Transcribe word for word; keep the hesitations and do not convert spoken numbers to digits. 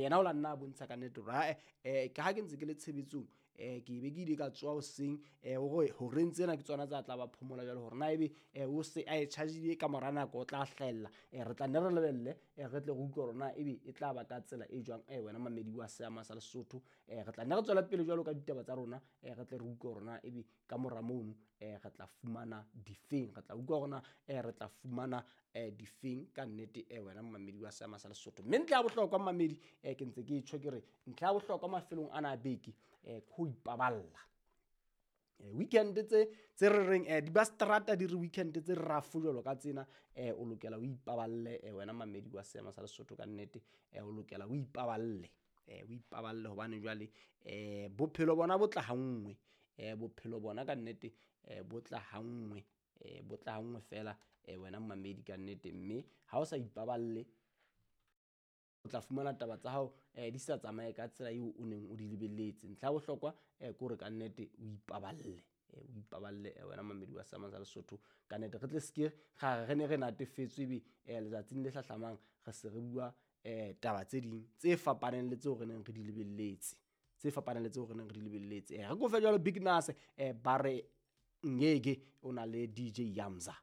Yena o la nna a bontsha ka nnete hore ae um ke ha ke ntse ke le tshebetsong um ke be ke ile ka tsoha hoseng um hore horeng tsena ke tsona tsa tla ba phomola jwale hore na ebe um o se a e charge-ile ka mora nako o tla hlahella. um Re tla nne re lebelle um re tle re utlwe hore na ebe e tla ba ka tsela e jwang um wena mamedi wa seama sa Lesotho. um Re tla nne re tswele pele jwalo ka ditaba tsa rona um re tle re utlwe hore na ebe ka mora mono um re tla fumana difeng, re tla utlwa hore na um re tla fumana um difeng ka nnete um wena momamedi wa seama sa Lesotho. Mme ntlha ya bohlokwa mamedi um ke ntse ke tjho ke re ntlha ya bohlokwa mafelong ana a beke um ke ho ipaballa. Weekend tse tse re reng um di ba strata di re weekend tse rough jwalo ka tsena um o lokela o ipaballe um wena mamedi wa seema sa Lesotho ka nnete um o lokela o ipaballe um o ipaballe hobane jwale um bophelo bona bo tla ha nngwe um bophelo bona ka nnete um bo tla ha nngwe um bo tla ha nngwe feela um wena mamedi ka nnete. Mme ha o sa ipaballe o tla fumana taba tsa hao um di sa tsamaye ka tsela eo o neng o di lebelletse. Ntlha ya bohlokwa um ke hore ka nnete o ipaballe o ipaballe wena mamedi wa seama sa Lesotho ka nnete. Re tle seke ra re ne re natefetswe ebe um letsatsing le hlahlamang re se re bua um taba tse ding tse fapaneng le tseo re neng re di lebelletse, tse fapaneng le tseo re neng re di lebelletse. Re kofe jwalo Big Nas um ba re ngeke o na le D J Yamza.